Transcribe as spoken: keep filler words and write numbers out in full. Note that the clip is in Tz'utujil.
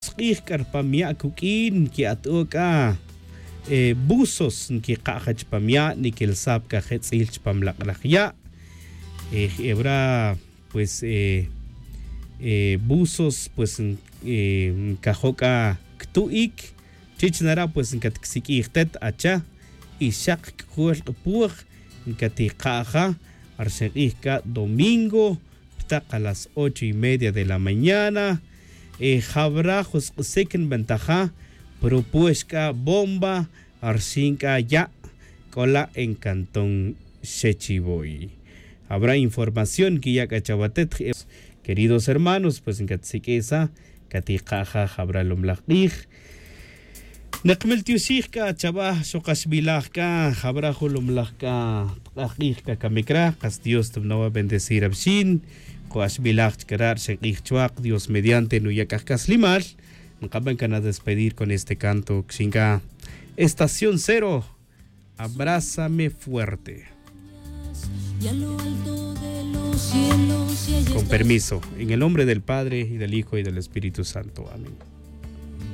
Sk'ij k'a rpam ya' kuk'in nki'ato' k'a buzos nkika'ja chpam ya' nikilsaj pa k'a jetz'il chpam lak'laj ya'. Jebra pues buzos pues nkajo' k'a ktu'ik. Chich nara' pues nkatkisik'ij tet acha y xaq k'ujol q'apoj nkatijka'ja rxin q'ij k'a domingo ptaq a las ocho y media de la mañana. Jabra jun sk'isik nbentaja propuex k'a bomba rxin k'a ya' k'ola' en cantón xechivoy. Jabra información kiya' k'a chawatet. Queridos hermanos pues nkatsik'isa katijka'ja jabra lumlaj q'ij. Naqmiltioxij k'a chaba' xoqaxbilaj k'a jabra jun lumlaj k'a tq'aj q'ij k'a kamik ra qas dios tbnawa' bendecir abxin. Qo'axbilaj chkara' rxin q'ij chwaq dios mediante nuya' k'a jkaslimal. Nqaban k'a nadespedir con este canto kxin k'a estación cero. Abrázame fuerte. Con permiso en el nombre del padre y del hijo y del espíritu santo amén.